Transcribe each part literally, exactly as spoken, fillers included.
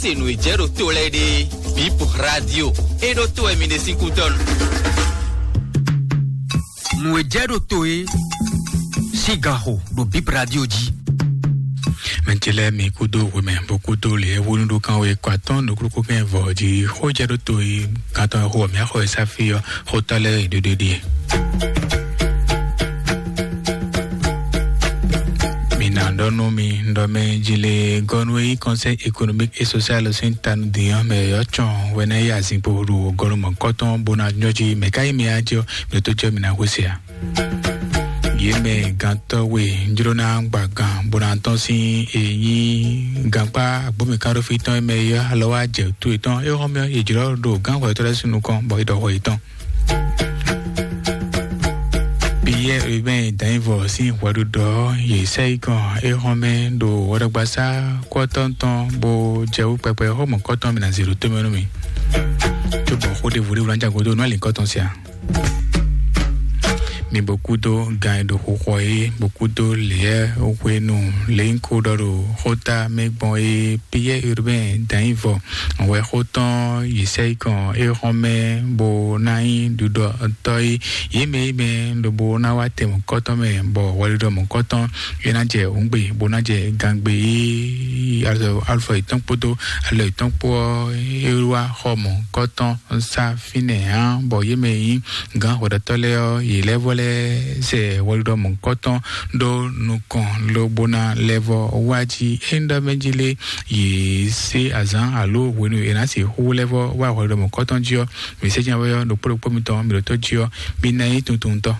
Se nǔ e jɛ ɖo to lɛ́ɛ ɖe, Bip Radio, e ɖo to wɛ mi ɖe sín kútɔ́ nu. Nǔ e jɛ ɖo to e sín gan xo ɖo Bip Radio jí. Mɛ ce lɛ́ɛ mi kúdó hwemɛ bó kúdó lě e hwenu ɖó kan wé kɔ atɔ́ nukúnnú kɛn vɔ jí xó jɛ ɖó to e gantɔ́ xo mǐ axɔ e sáfí ɔ́ xótɔ́ lɛ́ɛ e ɖéɖé ɖíe. Mi ná ɖɔ nú mi ɖɔ mɛ jí lé gɔnu e nyí Conseil économique et social sín tanu dín ɔ́ mɛ yɔ́ cɔn wɛ ná yí azǐnpo ɖo gɔnu mɔ̌kɔtɔn bó ná nyɔ́ jí mɛ ká nyí mi á jí ɔ́ mi ɖo tó jɔ mi ná hwesé a? Yě mɛ gantɔ́ we jló ná gba gan bó ná tɔ́n sín e nyí gankpá agbómikánɖófí tɔn e mɛ yɔ́ alɔ wá jɛ tó yětɔn é xɔ́mɛ yě jlɔ́ ɖo gánxɔ yětɔn lɛ́ɛ sín nukɔn bɔ é ɖɔ xɔ yětɔn. Piyɛ́ɛ Urbain Danyivɔ sín hwɛɖuɖɔ yě sɛ yi kɔn é xɔ́mɛ ɖo hwɛɖɔgbasá kɔ́tɔn tɔn bó jɛ wú kpɛkpɛ xó mɔ̌kɔtɔn mi ná zě ɖo tómɛ nú mi. Cóbɔ xó ɖěvo ɖěvo ná jago dó nú alǐkɔtɔn sia. Mi bó kúdó gan e ɖo xixɔ é bó kúdó lěyɛ hwenu lě nyí kó ɖɔ ɖo xóta mɛ gbɔn é Piyɛ́ɛ Urbain Danyivɔ wɛ xó tɔn yi sɛ yi kɔn é xɔ́n mɛ bó ná nyí ɖuɖɔtɔ́ é yě mɛ yí mɛ lobo ná wá tɛ mɔ̌kɔtɔn mɛ bɔ hwɛɖuɖɔ mɔ̌kɔtɔn é ná jɛ hǔngbe bó ná jɛ gangbe é alɔ alufɔ yětɔn kpódó alɔ yětɔn kpó ɔ́ é wá xɔ mɔ̌kɔtɔn sá fínɛ́ ǎ bɔ yě mɛ nyí gǎn hwɛɖɔtɔ́ lɛ́ɛ ɔ́ yě lɛ́ vɔ lɛ́ zɛ hwɛɖuɖɔ mɔ̌kɔtɔn ɖó nukɔn lobo ná lɛ́ vɔ wá jí é ŋɖɔ mɛ jí lé yě sé azǎn alo hwenu e è nǎ sixú lɛ́ vɔ wá hwɛɖɔmɔ kɔ́tɔn jí ɔ́, mǐ sɛ́ jɛ́n wɛ ɔ́ ɖokpó ɖokpó mitɔn mǐ ɖo tó jí ɔ́, mǐ ná nyí tuntuntɔ́.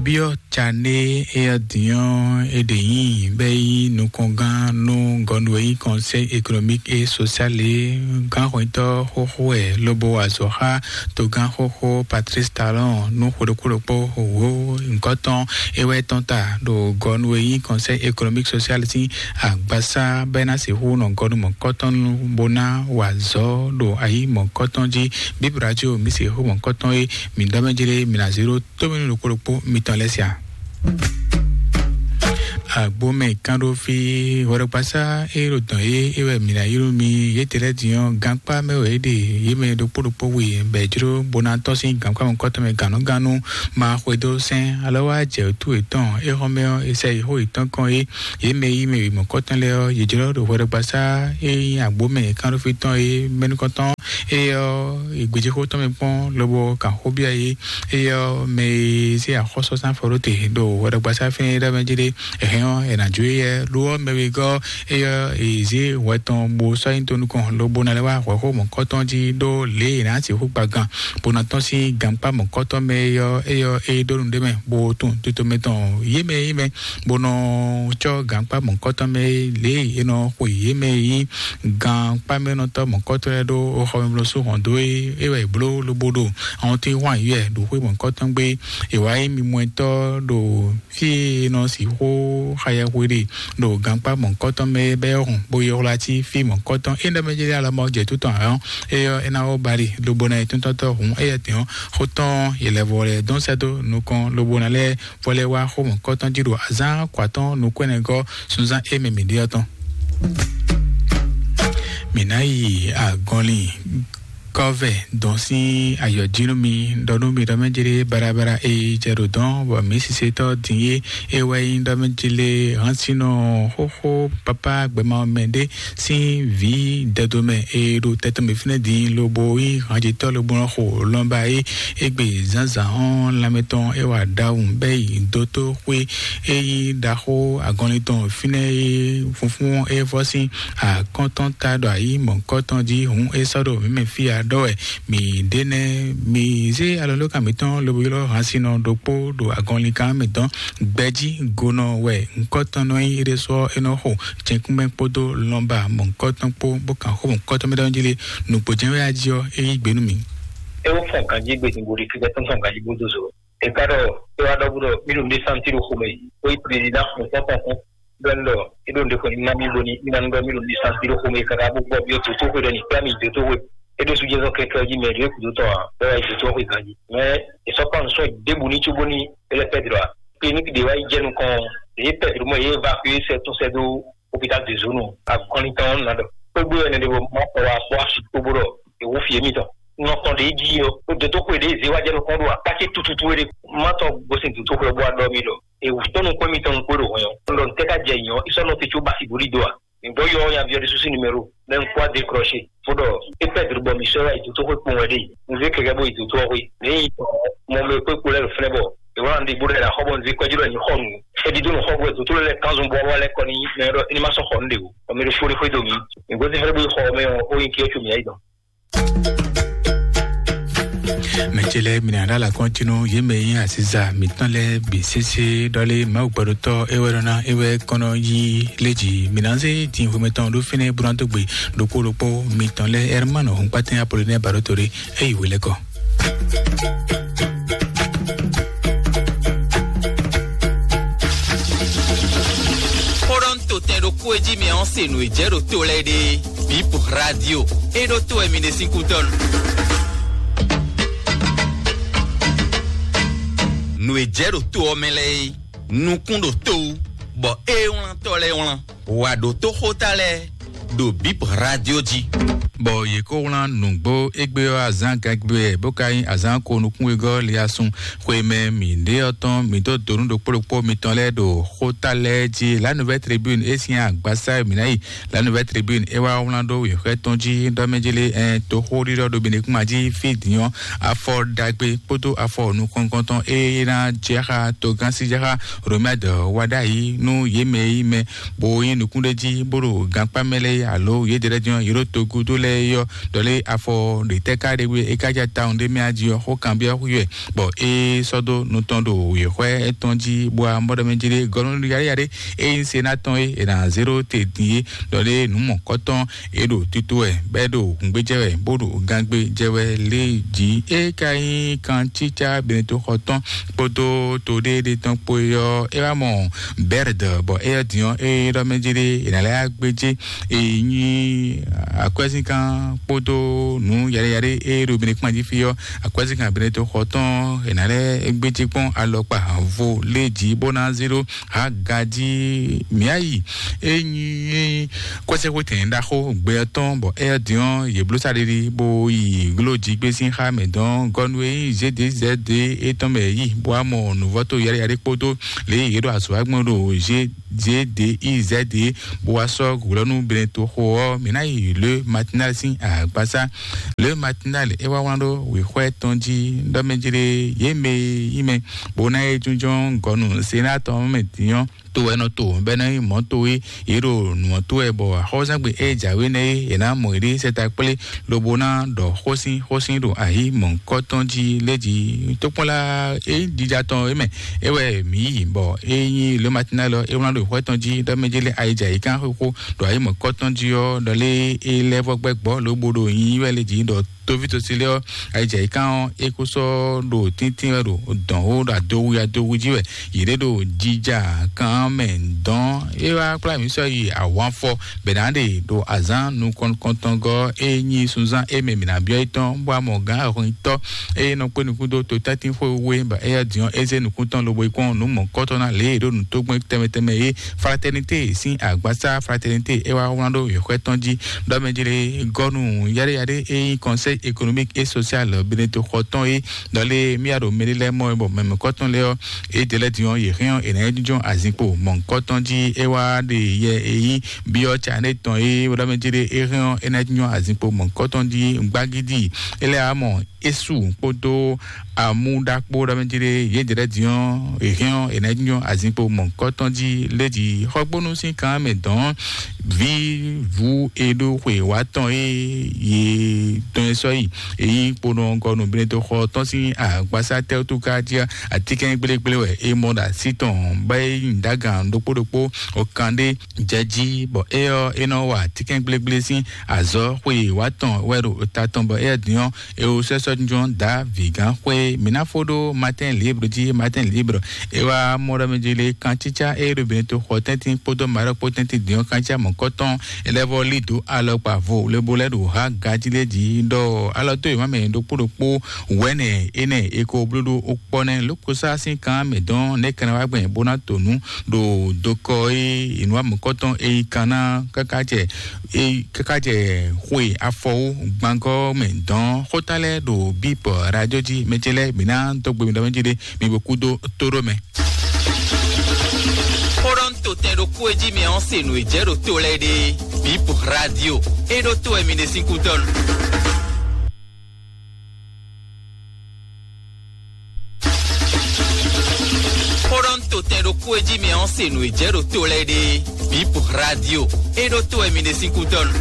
Byɔ́ Cané e ɔ́ din ɔ́, é ɖe nyí bɛ́ yí nukɔngán nú gɔnu e nyí Conseil économique et social é gánxwetɔ́ xóxó wɛ lobo wa azɔ̌ xá togán xóxó Patrice Talon nú xwe ɖokpó ɖokpó wǒ nyǐkɔ tɔn é wɛ tɔn ta ɖo gɔnu e nyí Conseil économique social sín agbasá bɔ é ná sixú nɔ gɔnu mɔ̌kɔtɔn nu bó ná wa azɔ̌ ɖo ayǐ mɔ̌kɔtɔn jí. Bíbélì jí o mǐ sixú mɔ̌kɔtɔn e mǐ ɖɔ mɛ jlé mǐ ná zé ɖó tómɛnu ɖokpó ɖokpó mitɔn lɛ́ɛ sia. Agbomɛ kánɖófí hwɛɖɔgbasá e ɖo dɔn yé é wɛ mǐ ná ylɔ́ mi yětɛn lɛ́ɛ din ɔ́, gankpá mɛ wɛ é ɖe yě mɛ ɖokpó ɖokpó we bɔ è jló bó ná tɔ́n sín gankpá mɔ̌kɔtɔn mɛ gǎnnugánnu ma xwedó sɛn alɔ wá jɛ wǔtu yětɔn é xɔ́n mɛ ɔ́, è sɛ yi xó yětɔn kɔn é yě mɛ yí mɛ wěmɔ̌kɔtɔn lɛ́ɛ ɔ́, yě jló ɖo hwɛɖɔgbasá e nyí agbomɛ kánɖófí tɔn é mɛ nukɔntɔn é ɔ́, è gbějéxó tɔn mɛ kpɔ́n lobo kan xó byɔ́ yě. Éyɛ́ ɔ́, mɛ e zé axɔ́súzán fɔ ɖó te ɖo hwɛɖɔgbasá fínɛ́ é ɖɔ mɛ jí ɖé, è hɛn ɔ́, è nǎ jó éyɛ́. Lo ɔ́, mɛ wegɔ́ ɔ́, éyɛ́ è zé hwɛ tɔn bó sɔ́ nyi tó nukɔn, lobo ná lɛ́ wá hwɛ̌xó mɔ̌kɔtɔn jí ɖó lě e è nǎ sixú gba gan, bó ná tɔ́n sín gankpá mɔ̌kɔtɔn mɛ é ɔ́, éyɛ́ ɔ́, é ɖó nǔɖé mɛ, bó tunwun tito mɛ tɔn yě mɛ yí mɛ, bó nɔ cɔ́ gankpá mɔ̌kɔtɔn mɛ lě e è nɔ xwe yě mɛ yí gankpá mɛ nɔ tɔ́ mɔ̌kɔtɔn lɛ́ɛ ɖó xɔmɛblɔ́sú hɔn dó é, é wɛ è bló lobo ɖo awɔntín hwan yǔyɛ ɖo xwé mɔ̌kɔtɔn gbé. È wǎ nyí mimɔtɔ́ ɖo fí e è nɔ sixú xayɛhwe ɖe ɖo gankpá mɔ̌kɔtɔn mɛ bɛ́ hɔn bó yi xwlá cí fí mɔ̌kɔtɔn é nɛ́ mɛ jɛ alɔ mɔ jɛ tó tɔn ǎ ɔ́, é ɔ́ é ná wó ba ɖi lobo ná yi tɔ́ntɔ́tɔ́ hǔn éyɛ́ tɛ́n ɔ́, xó tɔn yě lɛ́ vɔ lɛ́ dɔn sɛ́ dó nukɔn lobo ná lɛ́ vɔ lɛ́ wá xó mɔ̌kɔtɔn jí ɖo azǎn kɔ atɔ́ɔ́n nukɔn ɛnɛgɔ́ sunzán e mɛ mǐ ɖe ɔ́ tɔn. Mǐ ná yi agɔnlin kɔ́vɛ dɔn sín ayɔ̌jínú mi ɖɔ nú mi ɖɔ mɛ jlé barabara e jɛ ɖo dɔn bɔ mǐ sisetɔ́ din é é wɛ nyí ɖɔ mɛ jlé hánsinɔ xóxó pápá gbɛmɛ mɛ ɖé sín vǐ dɛdomɛ e ɖo tɛtɔn mǐ fínɛ́ din lobo nyí hanjitɔ́ lobo nɔ xo lɔnba é égbé zǎnzǎn ɔ́ lanmɛ tɔn é wa ɖawun bɛ́ yi dótó xwé é nyí ɖaxó agɔnlin tɔn fínɛ́ é funfún é vɔ́ sín akɔ́ntɔn ta ɖo ayǐ mɔ̌kɔtɔn jí hǔn é sɔ́ ɖo mǐ mɛ fí a ɖɔ wɛ mǐ ɖe nɛ́ mǐ zé alɔlókan mǐtɔn lobo ylɔ́ hansinɔ ɖokpó ɖo agɔnlinkán mǐtɔn gbɛjí gonɔ wɛ ŋkɔtɔn nɔ nyí é ɖésú ɔ́ é nɔ xo jɛnkúnmɛ kpódó lɔnba mɔ̌kɔtɔn kpó bó kan xó mɔ̌kɔtɔn mɛ ɖɔn jí lé nǔgbó jɛ́n wɛ ají ɔ́ é yí gbe nú mǐ. É wó fɔn ganjí gbedin bo ɖi kíkẹ́ tó fɔn ganjí bó dó zo. È ká ɖɔ é wá ɖɔ bó ɖɔ mí ɖo ndé santi ɖo xomɛ yìí ó yí prezidán xɔn tɔn tɔn tɔn bɛn ɖɔ é ɖo ndé xɔn ní ná mí bóni mí ná nú ɖɔ mí ɖo ndé santi ɖo xomɛ yìí káká bó gbɔ byɔ́ dǒtóxwe ɖɔ ní kplá mí dǒtóxwe é ɖo sujɛzɔn kɛkɛ jí mɛ ɖo é kúdó tɔn ǎ bɛ́ wá yi dǒtóxwe ganjí. Mɛ è sɔ́ kpán nǔ sɔ́ ɖěbǔ ní cóbóni é lɛ́ pɛ́ dlɔ̌ ǎ. Kliniki ɖě wá yi jɛ nukɔn ɖě é pɛ́ dlɔ̌ mɔ é évakué sɛ tún sɛ dó hôpital de zone akɔnlintɔn ɔ́ nɔ ɖɔ kpégbé wɛ nɛɖe bɔ ma kɔ wa kpɔ asi kpóbó ɖɔ èwú fie mitɔn nɔ tɔn ɖe jí ɔ o dòtó xwe ɖe zé wá jɛ nukɔn ɖo akáké tututu wɛ ɖe ma tɔ gosin dòtó xwe bó adɔ mi ɖɔ èwú tɔn nukɔn mitɔn nukɔn ɖo hɔn yɔ ndɔ ntɛ ka jɛ nyɔ isɔ nɔ te tso basi boli do a mi gbɔ yɔ ya viɔ de susi numéro mɛ nkɔ a décroché fo ɖɔ e perdre bɔ mi sɔ ya dòtó xwe kpɔn wɛ ɖe nzé kɛkɛ bó yi dòtó xwe ne yi mɔ mɛ kpé kpó lɛ fɛnɛ bɔ ìwọ náà ń di bó ɖe la xɔ bɔ nzé kɔjú lɛ ní xɔ nù edi dó nù xɔ bó dòtó lɛ kanzun bɔ wà lẹ kɔ ní mɛ ɖɔ ní ma sɔ xɔ nù ɖe o ɔmɛ ɖo fó ní xwé do mi ìgbésí fɛnɛ bó yi xɔ mɛ o ó yin kí ó tso mi ayi dɔn. Mɛtsɛlɛ mina ɖa la kɔntinu yé mɛ yín asiza mitɔn lɛ bi sese ɖɔlé mawu gbɛɖotɔ ewɛ ɖɔna ewɛ kɔnɔ yí lédzi mina zé tin xwemɛtɔn ɖo fínɛ bronatogbe ɖokpó ɖokpó mitɔn lɛ Hermano Hunkpatin Apollinaire Baɖoto ɖé eyi wele kɔ. Xó ɖɔ ń to tɛn ɖokpó e jí mi ɔ́ se nǔ e jɛ ɖo to lɛ́ɛ ɖe. Bip Radio. E ɖo to wɛ mi ɖe sín kútɔ́ nu. Nǔ e jɛ ɖo to ɔ́ mɛ lɛ́ɛ é, nukún ɖo to wú, bɔ é wlán tɔ́ lɛ́ɛ wlán. Wà ɖǒ tó xóta lɛ́ɛ ɖo Bip Radio jí. Bɔ yě kó wlán nǔgbó égbé ɔ́ azǎn gangbé wɛ bó ka nyí azǎn ko nukúnwegɔ́ liasun xwe mɛ mǐ ɖe ɔ́ tɔn mǐ dó donu ɖokpó ɖokpó mitɔn lɛ́ɛ ɖo xóta lɛ́ɛ jí. La Nouvelle Tribune é sín agbasa e mǐ ná yi. La Nouvelle Tribune é wá wlán ɖó wěxwɛ́ tɔn jí ɖɔ mɛ jí lé ɛn toxóɖiɖɔ ɖo Benekúma jí fí din ɔ́ afɔ ɖagbe kpódó afɔ nukɔntɔn e ná jɛ xá togán sí jɛ xá Romɛd wá ɖ'ayǐ nú yě mɛ e nyí mɛ bó nyí nukúnɖéjí bó ɖo gankpá mɛ lɛ́ɛ alo yědɛɛ lɛ́ɛ din ɔ́, yě ɖo togúdo lɛ́ɛ é ɔ́, ɖɔ lé afɔ ɖětɛ́ ká ɖe wɛ é ká ja tawun ɖé mɛ ají ɔ́, xó kanbyɔ́ xwí wɛ, bɔ é sɔ́ dó nu tɔn ɖo wěxwɛ́ étɔn jí, bó wá mɔ ɖɔ mɛ jí ɖé gɔ́ nú yaɖéyaɖé é nyí se ná tɔn é, è nǎ zé ɖó te din é, ɖɔ lé nǔ mɔ̌kɔtɔn é ɖo tito wɛ, bɔ é ɖo hǔngbéjɛ wɛ, bó ɖo gangbé jɛ wɛ lé jí. É ka nyí kancícá Benetoxɔ tɔn kpódó toɖéɖé tɔn kpó é ɔ́, é wá mɔ Bɛrd, bɔ éyɛ́ din ɔ́, é ɖɔ mɛ jí ɖé è nǎ lɛ́ wá gbéjé. É nyí akwɛ́zínkan kpódó nǔ yaɖéyaɖé é ɖo Benekúma jí fí ɔ́, akwɛ́zínkan Benetoxɔ tɔn è nǎ lɛ́ gbéjé kpɔ́n alɔkpa vo lé jí bó ná zé ɖó Hagaji Miayi. É nyí kɔ́sɛxwétɛn ɖaxó gbɛ ɔ́ tɔn, bɔ éyɛ́ din ɔ́, yě bló saɖiɖi bó yi gló jí gbé sín xá mɛ dɔn gɔ́ nú e nyí Zédezɛ́de étɔn mɛ yí, bó wá mɔ nǔvɔ́ to yaɖéyaɖé kpódó lě e yě ɖo azɔ̌ wa gbɔn ɖo Zédeizɛ́de, bó wá sɔ́ hwlɔ́nú Benetoxo ɔ́, mǐ ná yi Le Matinal sín agbasá. Le Matinal é wá wlán ɖó wěxwɛ́ tɔn jí ɖɔ mɛ jí ɖé yě mɛ e nyí mɛ bó ná é jínjɔ́n gɔ̌ nú Senát ɔ́ mɛ din ɔ́, to wɛ nɔ to bɔ é nɔ nyí mɔ̌ to e yě ɖo nǔ ɔ́ to wɛ, bɔ axɔ́súzangbe e jǎwe nɛ́ é è nǎ mɔ yě ɖe sɛta kplé lobo ná ɖɔ xósin xósin ɖo ayǐ mɔ̌hunkɔtɔn jí lé jí. Tókpɔ́nla e jija tɔn é mɛ é wɛ mǐ yi, bɔ é nyí Le Matinal ɔ́, é wlán ɖo xwɛ tɔn jí ɖɔ mɛ jí lé ayija yě kán xóxó ɖo ayǐ mɔ̌hunkɔtɔn jí ɔ́, ɖɔ lé é lɛ́ vɔ gbɛ́ gbɔ́ lobo ɖo nyinyi wɛ lé jí ɖɔ toví tosí lé ɔ́, ayijɛ yí kán ɔ́, é kó sɔ́ ɖo tíntín wɛ ɖo dɔ̌n ó ɖo adowi adowi jí wɛ yě ɖé ɖo jija kan mɛ dɔn. É wá kplá mǐ sɔ́ yi awǎnfɔ bɛ̌ ná ɖe ɖo azǎn nukɔntɔngɔ́ é nyí sunzán é mɛ mǐ ná byɔ́ é tɔn, bó wá mɔ gǎn ahɔnyitɔ́ é nɔ kpé nukún dó totɛ́ntin xwé wé, bɔ éyɛ́ din ɔ́, é zé nukún tɔn lobo yi kpɔ́n nǔ mɔ̌kɔ́tɔ́ ná lě e è ɖó nǔ tógbɛ́n tɛnmɛ tɛnmɛ é. Fraternité sín agbasá Fraternité é wá wlán ɖó yěxwɛ́ tɔn jí ɖɔ mɛ jí lé gɔ́nu yaɖéyaɖé e nyí Conseil économique et social Benetoxɔ tɔn é, ɖɔ lé mía ɖo mɛɖé lɛ́ɛ mɔ é, bɔ mɛmɛkɔtɔn lɛ́ɛ ɔ́, é jɛ lɛ́ din ɔ́, yě hɛn ɔ́, è nǎ yi jínjɔ́n azinkpo mɔ̌hunkɔtɔn jí. É wá ɖe yɛ e nyí byɔ́ Cané tɔn é, ɖɔ mɛ jí lé é hɛn ɔ́, é ná yi jínjɔ́n azinkpo mɔ̌hunkɔtɔn jí. Gbagídí é lɛ́ wá mɔ Esu kpódó amúɖakpó ɖɔ mɛ jí ɖé yě jɛ lɛ́ din ɔ́, è hɛn ɔ́, è nǎ jínjɔ́n azinkpo mɔ̌hunkɔtɔn jí lé jí. Xɔgbónú sín kan mɛ dɔn vǐ vú e ɖó xwe wá tɔn e yě tɔn e sɔ́ yi e nyí kponɔgɔnu Benetoxɔ tɔn sín agbasá tɛ́wútú ká jí atínkɛn gblégblé wɛ é mɔ ɖo así tɔn bɔ é nyi ɖagan ɖokpó ɖokpó ɔkan ɖé jɛ jí, bɔ é ɔ́ é nɔ wa atínkɛn gblégblé sín azɔ̌ xwe wá tɔn wɛ ɖo ta tɔn, bɔ éyɛ́ din ɔ́, é wú sɛ́ sɔ́ jínjɔ́n dǎ vǐgán xwé. Mǐ ná fó ɖó Matin Libre jí. Matin Libre é wá mɔ ɖɔ mɛ jí lé kancícá é ɖo Benetoxɔ tɛ́ntin kpódó Maroc kpó tɛ́ntin din ɔ́, kancícá mɔ̌kɔtɔn é lɛ́ vɔ lí dǒ alɔkpa vo lobo lɛ́ ɖo há gají lé jí ɖɔ Alɔ tó yě má mɛ ɖokpó ɖokpó wɛ̌nɛ énɛ́ è ko bló ɖó ó kpɔ́ nɛ́ lókosá sín kan mɛ dɔn nɛ́ kɛnɛ wá gbɛn bó ná to nǔ ɖo dokɔ é ìnú amukɔtɔn é yí kan ná káká jɛ é káká jɛ xwe afɔwó gbangɔ mɛ dɔn xóta lɛ́ɛ ɖo bípɔ radio jí mɛ ce lɛ́ɛ mǐ ná dó gbe mi ɖɔ mɛ jí ɖé mi bo kú dó tó ɖó mɛ. Xó ɖɔ ń to tɛn ɖokpó e jí mi ɔ́ se nǔ e jɛ ɖo to lɛ́ɛ ɖe. Bip radio. E ɖo to wɛ mi ɖe sín kútɔ́nu. Xó ɖɔ ń to tɛn ɖokpó e jí mi ɔ́ se nǔ e jɛ ɖo to lɛ́ɛ ɖe. Bip radio. E ɖo to wɛ mi ɖe sín kútɔ́nu.